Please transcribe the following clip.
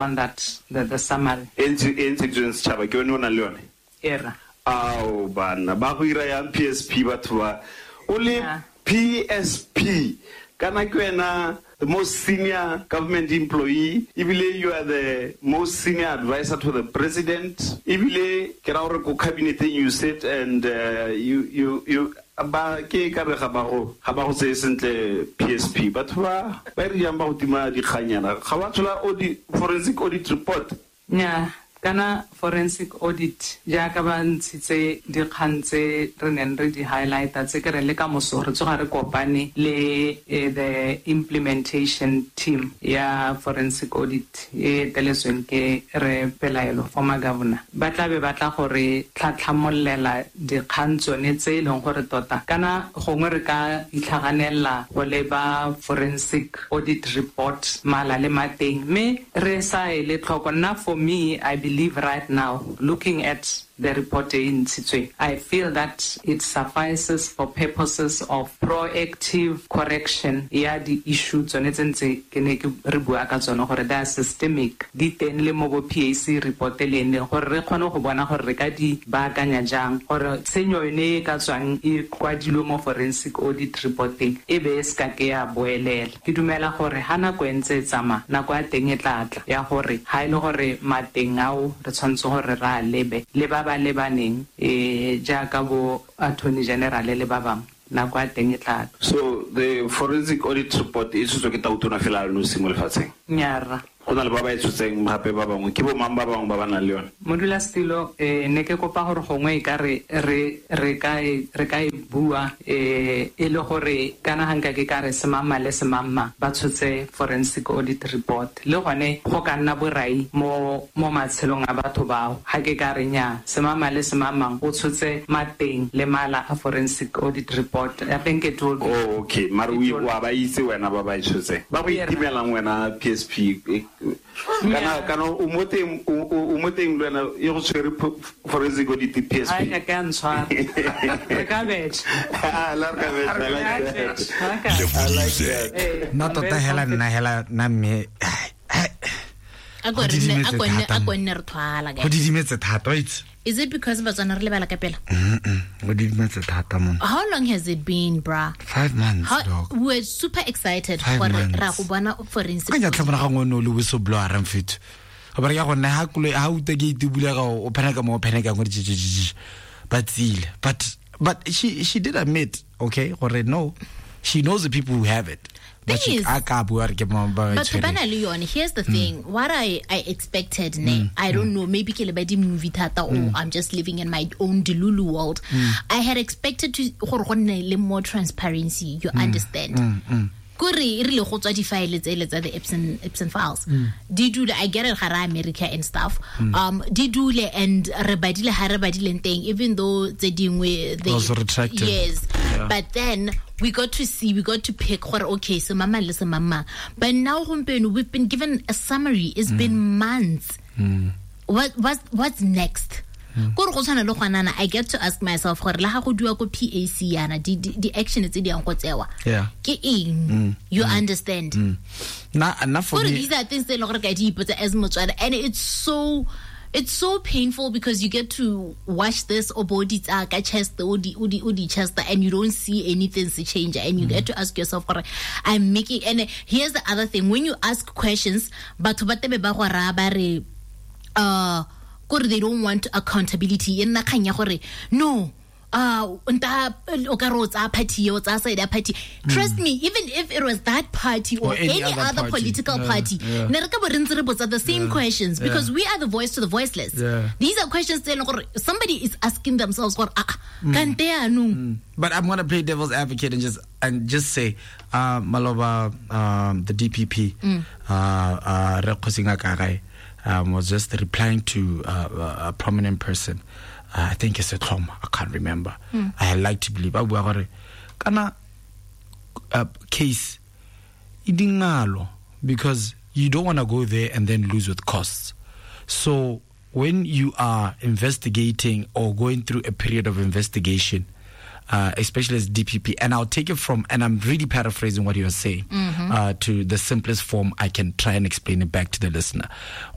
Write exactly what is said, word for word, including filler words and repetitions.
one that the, the summary. E ntsheditsweng setšhaba ke yone o nang le yone? Era. Ao bana ba go ira yang P S P batho ba o le P S P kana ke wena the most senior government employee, ebile you are the most senior advisor to the president, ebile ke ra gore ko cabineteng you sit and uh, you you you ba ke ka re ga ba go ga ba go tseye sentle P S P batho ba ba re jang ba go tima dikganyana ga ba tshola audit forensic audit report. Nya kana forensic audit jaaka ba ntshitse dikgang tse re neng re di highlighta tse ke re le ka moso re tsoga re kopane le the implementation team ya forensic audit e eteletsweng ke re Pelaelo former governor ba tla be ba tla gore tlhatlhamollela dikgang tsone tse e leng gore tota kana gongwe re ka itlhaganela go leba forensic audit report mala le mateng mme re sa e le tlhoko. Nna for me I believe right now, looking at the report in Sitswe, I feel that it suffices for purposes of proactive correction. Ya di issue tsone tse ntse ke ne ke re bua ka tsone gore they are systemic. Di teng le mo bo P A C report le ene gore re kgone go bona gore re ka di baakanya jang gore tshenyo yone e ka tswang e kwadilwe mo forensic audit reporting e be e se ka ke ya boelela. Ke dumela gore ha nako e ntse e tsamaya nako ya teng e tla tla ya gore ha e le gore mateng ao re tshwanetse gore re a lebe le ba ba lebaneng eh jaaka bo attorney general le ba bangwe nako ya teng e tla. So the forensic audit report e tshotswe ke tautona fela a le nosi mo lefatsheng? Nnyaa. Go na le ba ba e tshotseng gape ba bangwe ke bo mang ba bangwe ba ba nang le yone? Modulasetilo eh ne ke kopa gore gongwe e ka re re re ka e re ka e bua eh e le gore kana ga nka ke ka re semamma le semamma ba tshotse forensic audit report le gone go ka nna borai mo mo matshelong a batho bao ga ke ka re nya semamma le semamma o tshotse mateng le mala a forensic audit report. I think it will be. Oh, okay mare o ba itse wena ba ba e tshotseng ba go itimelang wena P S P kana kana o mo teng o mo teng le wena e go tshwere forensic audit P S P. Ai ka ntshwara re ka betšha. Ah la re ka betšha I like that. I like that. Nna tota hela nna hela nna mme a go nne a go nne a go nne re thwala go didimetse thata itse. Is it because Batswana re lebala ka pela? Mm-mm. Go didimetse thata mon. How long has it been, bra? Five months, How, dog. We were super excited for ra go bona forensic. Ka tlhabana ga ngwe le whistleblower re mfetho. Go ba re ya go nna ha kulo ha uta ke itibula ga o pheneka mo o pheneka go di ba tsile. But but she she did admit, okay, gore no, she knows the people who have it. Thing is, but here's the thing. Mm. What I, I expected, ne, mm. I don't know, maybe ke leba di movie thata or mm. I'm just living in my own delulu world. Mm. I had expected to gore go nne le more transparency, you mm. understand. Mm. Mm. Kore e rile go tswa di-file tsele tsa the Epson Epson files. Mm. Di dule, I get it gara America and stuff. Mm. Um di dule and re badile ha re badileng teng even though tse dingwe they also retracted. Yes. Yeah. But then we got to see, we got to pick gore okay, so mama le mama. But now gompieno we've been given a summary. It's mm. been months. Mm. What what's what's next? Kore go tshwana le gwanana I get to ask myself gore la ga go dua ko P A C yana di di action tse di yang go tsewa ke eng? You mm. understand? Mm. Na na for me these are things tse le gore ka di ipotsa as Motswana and it's so it's so painful because you get to watch this or body ka chest o di o di o di chest and you don't see anything to change and you mm. get to ask yourself gore I'm making. And here's the other thing, when you ask questions batho ba tebe ba go ra ba re uh gore they don't want accountability e nna kgang ya gore no uh nta o ka re o tsaya party o tsaya side ya party. Trust me, even if it was that party or, or any, any other, other party. political yeah, party yeah. ne re ka bo re ntse re botsa the same yeah, questions because yeah. we are the voice to the voiceless. Yeah. These are questions tse e leng gore somebody is asking themselves gore ah mm. kante yaanong. Mm. But I'm going to play devil's advocate and just and just say uh maloba um the D P P mm. uh uh Re Kgosi Ngakagae um was just replying to uh, a prominent person. Uh, I think it's a trauma. I can't remember. Mm. I like to believe. I bua gore kana uh, case e dingalo because you don't want to go there and then lose with costs. So when you are investigating or going through a period of investigation, uh, especially as D P P, and I'll take it from, and I'm really paraphrasing what you're saying, mm-hmm. uh, to the simplest form I can try and explain it back to the listener.